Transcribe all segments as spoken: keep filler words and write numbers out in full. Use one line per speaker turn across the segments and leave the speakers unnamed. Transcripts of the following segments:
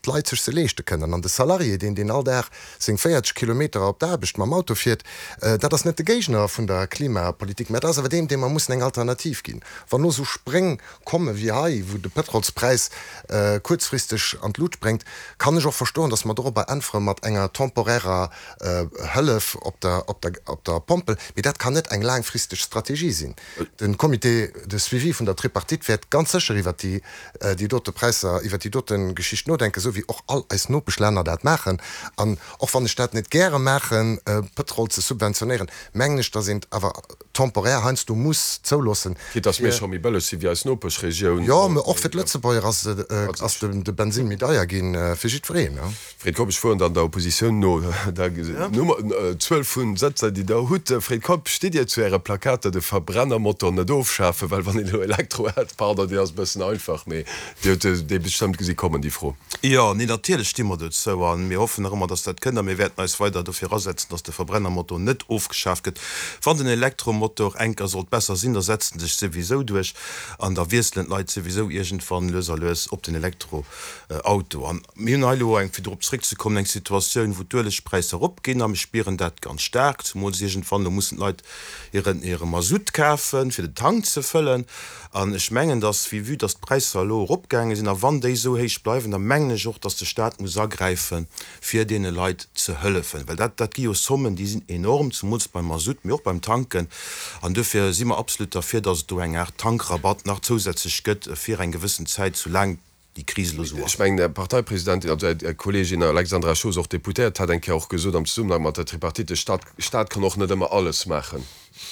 d'Leit sech se leeschte kënnen. An de Salarié, deen deen all Dag seng véierzeg Kilometer op d'Aarbecht mam Auto fiert, dat ass net de Géigner vun der Klimapolitik, mä dat ass awer deen, deem mer mussen eng Alternativ ginn. Wann elo esou Spréng komme wéi hei, wou de Pëtrolspräis kuerzfristeg an d'Lut spréngt, kann ech och verstoen, datt mer dorobber äntwere mat enger temporärer Hëllef op der, op der, op der Pompel. Mee dat kann net eng laangfristeg Strategie sinn. De Comité de suivi vun der Tripartite wäert ganz sécher iwwert déi, déi dote Präisser, iwwert déi dote Geschicht nodenken, esou wéi och all eis Nopeschlänner dat maachen. An och wann ech dat net gäre maachen, Pëtrol ze subventionéieren, mengen ech, datt een et awer temporär heiansdo muss zouloossen,
Quitte datt mir scho méi bëlleg si wéi eis Nopeschregioun.
Jo, mä och fir d'Lëtzebuerger ass, ass de Bensinn méi deier ginn, fir jiddwereen.
Fred Keup, Ech fueren dann der Oppositioun no, der Nummer, Zuel vu Sëtzer, déi Der hutt. Fred Keup, Stitt Dir zu Äre Plakater, de Verbrennermotor net ofschafen? Well wann een elo Elektro hätt, pardon, déi ass e bëssen einfach, mee Dir hutt déi bestëmmt gesi kommen, déi Fro.
Jo, nee, natierlech sti mer dozou a mir hoffen nach ëmmer, dass dat kënnt a mir wäerten eis weider dofir asetzen, dass de Verbrennermotor net ofgeschaaft gëtt. Wann den Elektromotor enker sollt besser sinn, da setzt en sech souwisou duerch an da wiesselen d'Leit souwisou iergendwann lues a lues op den Elektroauto. An mir hunn hei elo eng, fir dorop zréckzekommen, eng Situatioun, wou d'Uelegpräisser eropginn a mir spieren dat ganz staark, zumools iergendwann, elo mussen d'Leit hiren, hire Masutt kafen, fir den Tank ze fëllen. An ech mengen, dass, vue dass d'Präisser elo eropgaange sinn, a wann déi esou héich bleiwen, da mengen ech och, dass de Stat muss agräifen, fir deene Leit ze hëllefen. Well dat, dat gi jo Sommen, déi sinn enorm, zumools beim Masutt, mee och beim Tanken. An duerfir si mer absolut derfir, dass et do eng Aart Tankrabatt nach zousätzlech gëtt fir eng gewëssen Zäit, soulaang déi Kris elo esou
Ech
ass.
mengen, Är Parteipresidentin, also Är Kolleegin Alexandra Schoos, och Deputéiert, hat eng Kéier och gesot am Zesummenhang mat der Tripartite, de Stat, Stat kann och net ëmmer alles maachen.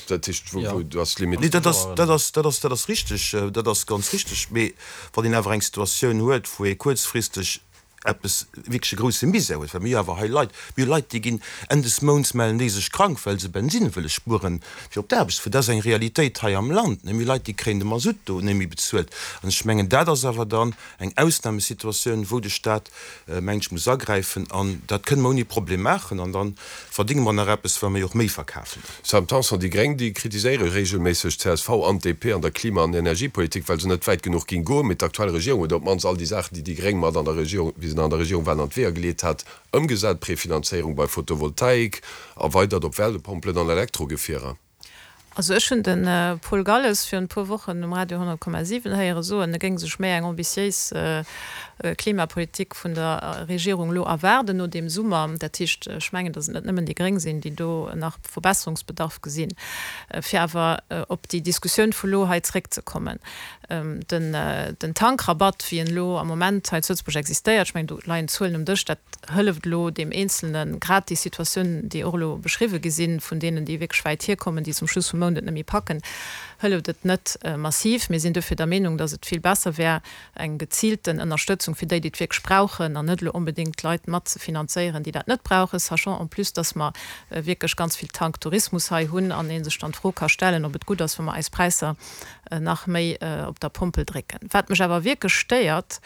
Dat heescht, wou, wou du ass
Nee,
Limit.
dat ass, dat ass, dat ass, dat ass richtig, dat ass ganz richtig. Mee wann een awer eng Situatioun huet, wou ee kuerzfristeg eppes wierklech e grouse Misär huet, well mir hu awer hei Leit, mir hu Leit, déi ginn Enn des Mounts mellen déi sech krank, well se Bensinn wëlle spueren, fir op d'Aarbecht ze fueren. Dat ass eng Realitéit hei am Land. Mir hu Leit, déi kréien de Masutt do net méi bezuelt. An ech mengen, dat ass awer dann eng Ausnahmesituatioun, wou de Stat, mengen ech, muss agräifen. An dat kënne mer ouni Problem maachen. An da verdénge mer nach eppes, well mer jo och méi verkafen.
Sam Tanson, Déi Gréng, déi kritiséiere regelméisseg d'C S V an d'D P an der Klima an Energiepolitik, well se net wäit genuch géing goen. Mee d'aktuell Regierung huet op d'mannst all déi Saachen, déi déi Gréng mat an der Regierung, wéi se nach an der Regierung waren, an d'Weeër geleet hat, ëmgesat, Prefinanzéierung bei Photovoltaik, erweidert op Wärmepompelen an Elektrogefierer.
Also ech hunn de Paul Galles virun e puer Wochen um Radio honnert Komma siwen héiere soen, e géing sech méi eng ambitiéis Klimapolitik vun der Regierung elo erwaarden no deem Summer. Dat heescht, ech mengen, datt et net nëmmen déi Gréng sinn, déi do nach Verbesserungsbedarf gesinn. Fir awer op déi Diskussioun vu lo hei zréckzekommen, den den Tankrabatt, wéi en elo am Moment hei zu Lëtzebuerg existéiert, ech mengen, do leien d'Zuelen um Dësch, dat hëlleft elo deem Eenzelne grad déi Situatioun, déi och elo beschriwwe gi sinn, vun deenen, déi wierklech wäit hierkommen, déi zum Schluss vum Mount et net méi packen, hëlleft et net massiv. Mir sinn dofir der Meenung, datt et vill besser wär, eng geziilten Ënnerstëtzung fir déi, déi et wierklech brauchen, an net elo onbedéngt d'Leit mat ze finanzéieren, déi dat net brauchen, sachant en plus, datt mer wierklech ganz vill Tanktourismus hei hunn an ee sech dann d'Fro ka stellen, ob et gutt ass, wa mer eis Präisser nach méi op der Pompel drécken. Wat mech awer wierklech stéiert,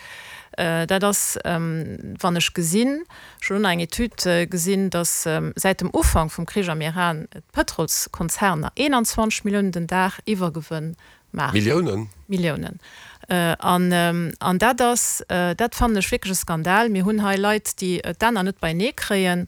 dat ass, wann ech gesinn, ech hunn elo nach eng Etüd gesinn, datt säit dem Ufank vum Krich am Iran d'Pëtrolskonzerner eenanzwanzeg Milliounen den Dag Iwwergewënn maachen.
Milliounen?
Milliounen. An dat ass, dat fannen ech wierklech e Skandal. Mir hunn hei Leit, déi d'Enner net beienee kréien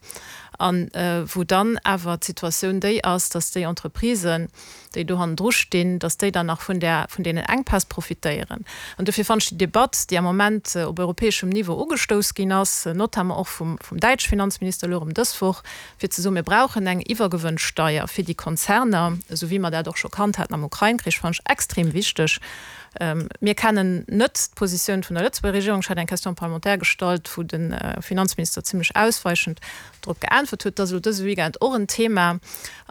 an wou dann awer d'Situatioun déi ass, datt déi Entreprisen, déi do hannendru stinn, datt déi dann nach vun där, vun deenen Enkpäss profitéieren. An dofir fannen ech déi Debatt, déi am Moment op europäeschem Niveau ugestouss ginn ass, notamment och vum, vum däitsche Finanzminister elo erëm dës Woch, fir ze soen, mir brauchen eng Iwwergewënnsteier fir déi Konzerner, esou wéi mer dat och scho kannt haten am Ukrain-Krich, fannen ech extrem wichteg. Mir kennen net d'Positioun vun der Lëtzebuerger Regierung. Ech hat eng Question parlementaire gestallt, wou de Finanzminister zimlech ausweichend drop geäntwert huet. Dat ass elo dëse Weekend och en Thema.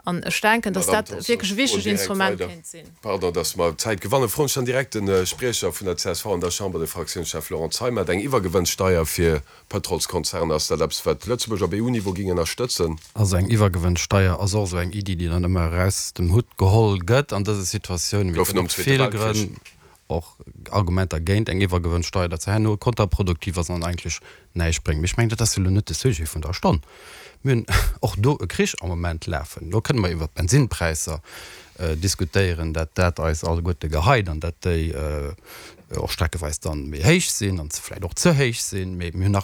An ech denken, dass
Madame
dat
Tanson,
wierklech e
ech froen
wichtegt
direkt
Instrument
weider.
kéint sinn.
Pardon, dass mer Zäit gewannen. Froen ech dann direkt de Spriecher vun der C S V an der Chamber, de Fraktiounschef Laurent Zeimet. Eng Iwwergewënnsteier fir Pëtrolskonzerner, ass dat eppes, wat Lëtzebuerg op E U-Niveau géing ënnerstëtzen?
Also eng Iwwergewënnsteier ass och esou eng Iddi, déi dann ëmmer eraus dem Hutt geholl gëtt an dëse Situatiounen. Mee et
Gouf
gëtt
nom
och
Zweete
vill
Weltkrich.
Grënn, och Argumenter géint eng Iwwergewënnsteier, datt se herno kontraproduktiv ass an eigentlech näischt bréngt. Mee ech mengen, dat ass jo elo net de Sujet vun der Stonn. Mir hunn och do e Krich am Moment lafen. Do kënne mer iwwert d'Bensinnpräisser diskutéieren, dat dat eis alleguerte geheit an dat déi och streckeweis dann méi héich sinn an vläicht och ze héich sinn. Mee mir hunn nach